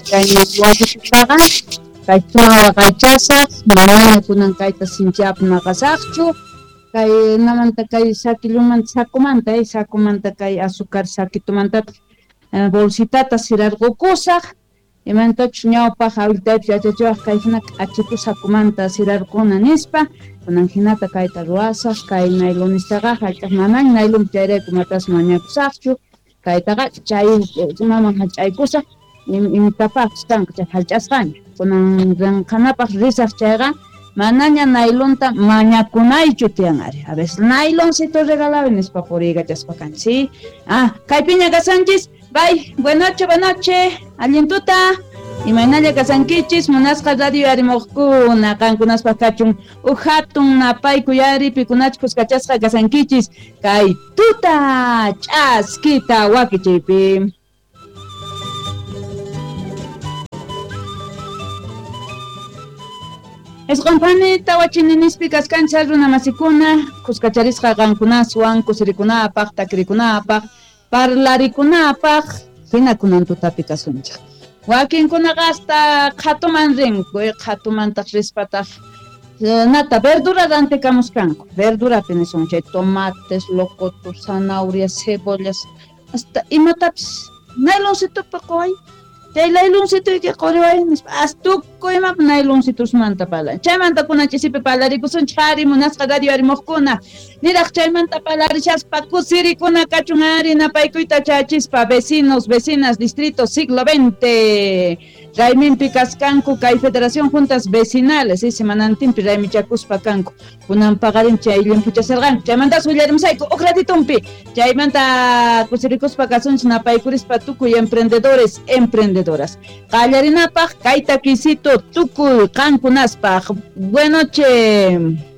Kay wallitutaqa kay suma waqaychasaq, manaña kunan kayta sinchiapi maqasaqchu. Kay namanta kay sakillumanta sakumanta, sakumanta kay azúcar sakitumantataq bolsitata sirarqukusaq. Imantachus ñawpaq awiltaypis yachachiwaq kay hina k'achitu sakumanta sirarquna nispa, kunan hinata kayta ruwasaq, kay nailonistaqa hallch'aq manaña nailonpi chayrayku matas mañakusaqchu, kaytaqa chay imaman hallch'aykusaq, imitapaqpis kanqa chay hallch'asqaña. Kunan rinqanapaq risaq chayqa manaña nailonta mañakunaychu tiyan ari. A veces nailoncito regalawi nispa puriykachaspa kanchis, ¿sí? Ah, kaypiña kasanchis. Bye, buenas noches, buenas noches. Allin tuta. Imaynalla kasankichis, munasqa radio yarimuqkuna, qankunaspaq kachun uj hatun napaykuy ari pikunachus kuskachasqa kasankichis kay tuta ch'askita wakichiypi. Isqun phani tawa chininispi kaskanchis runa masikuna, kuskacharisqa qankunaswan kusirikunapaq, takirikunapaq, parlarikunapaq, hina kunan tutapi kasunchik. Wakinkunaqa hasta qhatuman rinku, qhatumantaq rispataq nata verdura rantikamuskanku. Verdurapi nisun chay tomates, locotos, zanahorias, cebollas, hasta imatapis nayloncitopi quway. Chay nayloncitoyki quriway nispa, hasta tukuy imapi nayloncitosmanta parlan. Chaymanta kunan ch'isipi parlarikusunchik ari munasqa radio arimuqkuna. Niraq chaymanta parlarishaspa kusirikuna kachun ari napaykuyta chayachispa vecinos, vecinas, distrito siglo XX. Rayminpi kaskanku kay Federación Juntas Vecinales, ¿sí? Semanantinpi raymichakuspa kanku. Kunan paqarin chay limpuchasarqanku. Chaymantas willarimusayku uj ratitumpi. Chaymanta kusirikuspa kasunchik napaykurispa tukuy emprendedores, emprendedoras. Qallarinapaq kay takisito tukuy qankunaspaq. Buenas noches.